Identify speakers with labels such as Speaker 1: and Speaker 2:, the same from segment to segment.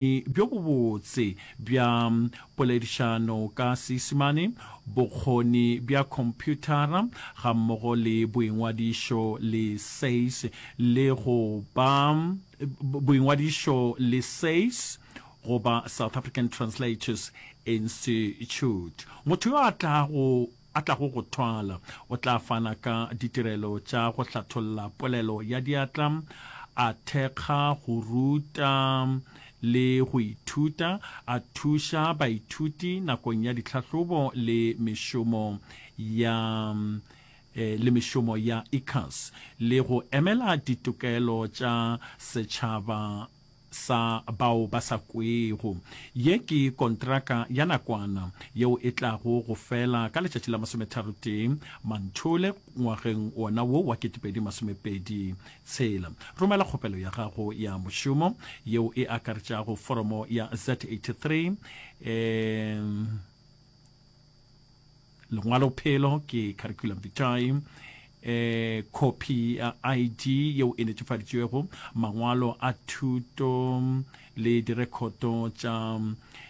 Speaker 1: Bjo bobotse bja poledišano ka Seisemane, bokgoni bja khomphuthara gammogo le boingwadišo le SACE le go ba boingwadišo le SACE goba South African Translators Institute. Motho yo a tlago a tlago go thwala. O tla fana ka ditirelo tša go hlatholla polelo ya diatla, a thekga go ruta le go ithuta, a thuša baithuti nakong ya ditlhahlobo le mešomo ya le mešomo ya ICAS, le go emela ditokelo tša setšhaba sa bao ba sa kwego. Ye ke kontraka ya nakwana yeo e tlago go fela ka letšatši la masometharotee Manthole ngwageng wona wo wa 2026. Romela kgopelo ya gago ya mošomo yeo e akaretšago foromo ya Z83 e Lengwalophelo ke curriculum vitae, eh, khophi ya ID yeo e netefaditšwego, mangwalo a thuto le direkhoto tša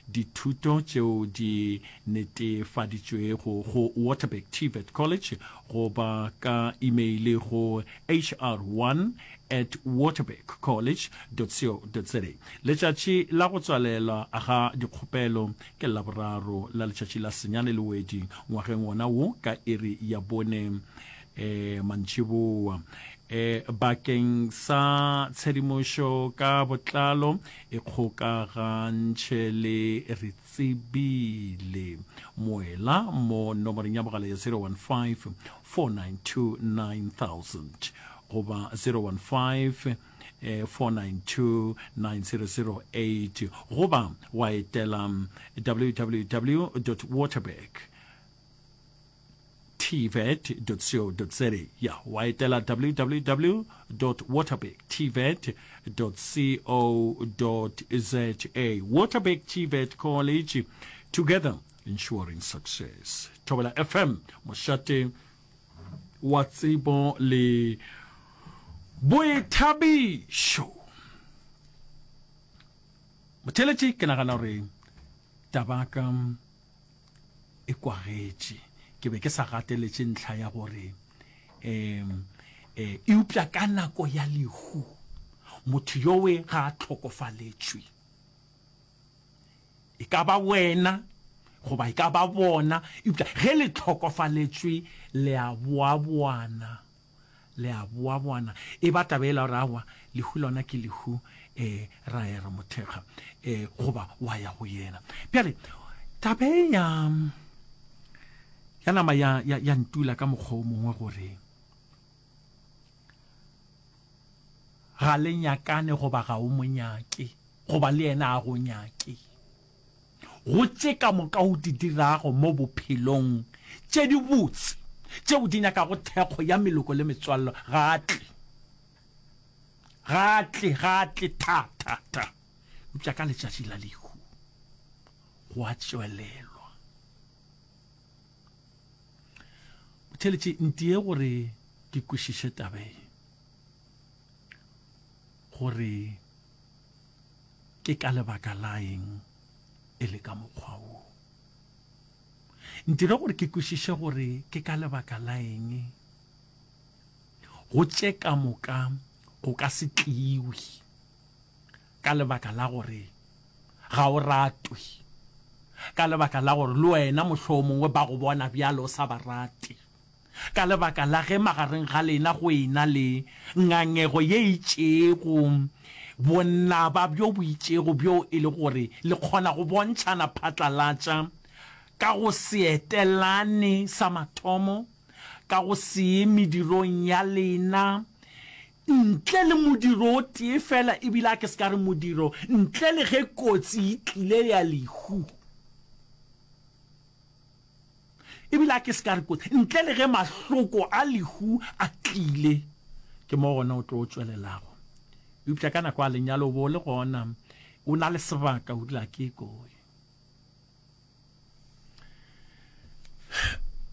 Speaker 1: dithuto tšeo di netefaditšwego go Waterberg TVET College goba ka imeile go hr1 at waterbergcollege dot co dot za. Letšatši la go tswalelwa ga dikgopelo ke Laboraro la letšatši la senyane Lewedi ngwageng wona wo ka iri ya bone e, mantšiboa. E, bakeng sa tshedimošo ka botlalo ikgokagantšhe le Retsebile Moela mo nomoreng ya mogala ya 015 492 9000 goba 015 492 9008 goba wa etela www waterberg tvet co za ya wa etela www waterberg tvet co za Waterberg TVET College together ensuring success. Thobela FM mošate wa tsebo le boithabišo. Motheeletši, ke nagana gore tabaka e kwagetše. Ke be ke sa gateletše ntlha ya gore um eupša ka nako ya lehu motho yowe ga a hlokofaletšwe. E ka ba wena goba e ka ba bona, eupša ge le hlokofaletšwe le a boaboana, le a boaboana. E ba taba yela gore aowa, lehu lona ke lehu, um ra ya ra mo thekga, um goba wa ya go yena. Bjale taba e ya, ya nama ya, ya, ya ntula ka mokgwa o mongwe gore ga le nyakane goba ga o mo nyake. Goba le yena a go nyake. Go tše ka moka o di dirago mo bophelong tše dibotse, tšeo di nyakago thekgo ya meloko le metswallo, ga a tle. Ga a tle, ga a tle tha, tha, tha. Eupša ka letšatši la lehu, go a tšwelelwa. Motheeletši, ntie gore ke kwešiše taba ye. Gore ke ka lebaka la eng e le ka mokgwa wo. Ntire gore ke kwešiše gore ke ka lebaka la eng go tše ka moka go ka se tliwe ka lebaka la gore ga o ratwe, ka lebaka la gore le wena mohlomongwe ba go bona bjalo o sa ba rate. Ka lebaka la ge magareng ga lena go e-na le ngangego ye itšego, bonaba bjo bo itšego bjo e le gore le kgona go bontšhana phatlalatša ka go se etelane sa mathomo, ka go se ye medirong ya lena ntle le modiro o tee feela, e bile a ke se ka re modiro, ntle le ge kotsi e tlile ya lehu. E bile a ke se ka re kotsi, ntle le ge mahloko a lehu a tlile, ke mo gona o tlo tšwelelago. Eupša ka nako ya lenyalo o bo o le gona, o na le sebaka, o dula ke koe.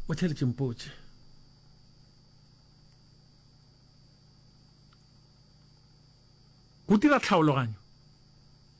Speaker 1: O theeletše mpotše. Go dira tlhaologanyo.